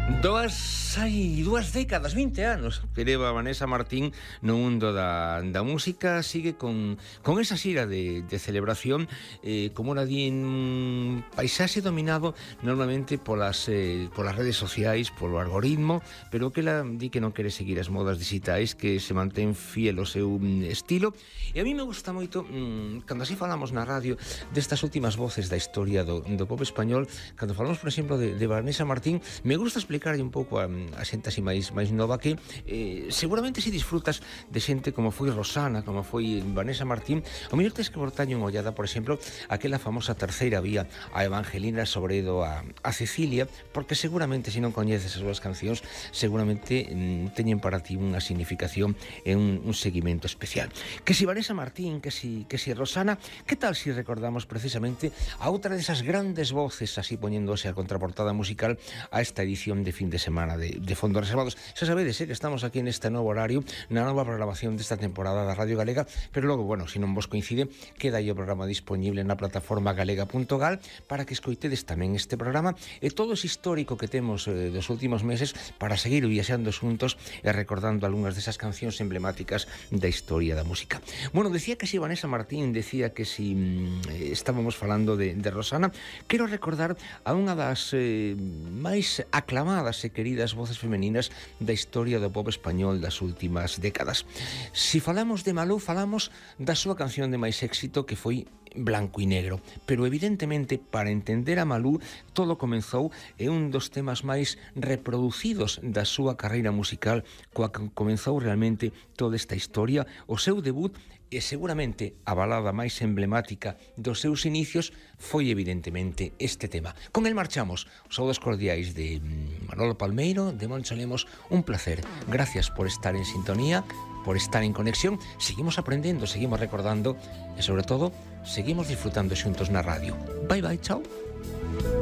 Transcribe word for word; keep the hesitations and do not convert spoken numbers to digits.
Dúas, hai dúas décadas, vinte anos que leva Vanessa Martín no mundo da, da música. Sigue con, con esa xira de, de celebración, eh, como ora di, en un paisaxe dominado normalmente polas, eh, polas redes sociais, polo algoritmo, pero que ela di que non quere seguir as modas digitais, que se mantén fiel ao seu estilo. E a mí me gusta moito, mmm, cando así falamos na radio destas últimas voces da historia do, do pop español, cando falamos, por exemplo, de, de Vanessa Martín, me gusta explicar un pouco a, a xente así máis, máis nova que eh, seguramente se disfrutas de xente como foi Rosana, como foi Vanessa Martín, o mellor tes que botarlle unha ollada, por exemplo, aquela famosa terceira vía, a Evangelina Sobredo, a, a Cecilia, porque seguramente, se non coñeces as súas cancións, seguramente mm, teñen para ti unha significación e un, un seguimento especial. Que si Vanessa Martín, que si, que si Rosana, que tal si recordamos precisamente a outra desas grandes voces, así poñéndose a contraportada musical a esta edición de de fin de semana de, de Fondos Reservados. Xa sabedes, eh, que estamos aquí neste novo horario, na nova programación desta temporada da Radio Galega, pero logo, bueno, se non vos coincide, queda aí o programa disponible na plataforma galega punto gal para que escoitedes tamén este programa e todo ese histórico que temos eh, dos últimos meses para seguir viaxando xuntos e recordando algunhas desas cancións emblemáticas da historia da música. Bueno, decía que si Vanessa Martín, decía que si mm, estábamos falando de, de Rosana, quero recordar a unha das eh, máis aclamadas e queridas voces femeninas da historia do pop español das últimas décadas. Si falamos de Malú, falamos da súa canción de máis éxito, que foi Blanco e Negro, pero evidentemente para entender a Malú todo comenzou e un dos temas máis reproducidos da súa carreira musical, coa que comenzou realmente toda esta historia, o seu debut e seguramente a balada máis emblemática dos seus inicios foi evidentemente este tema. Con el marchamos. Os saúdos cordiais de Manolo Palmeiro, de Moncho Lemos, un placer. Gracias por estar en sintonía, por estar en conexión. Seguimos aprendendo, seguimos recordando e sobre todo, seguimos disfrutando xuntos na radio. Bye bye, chao.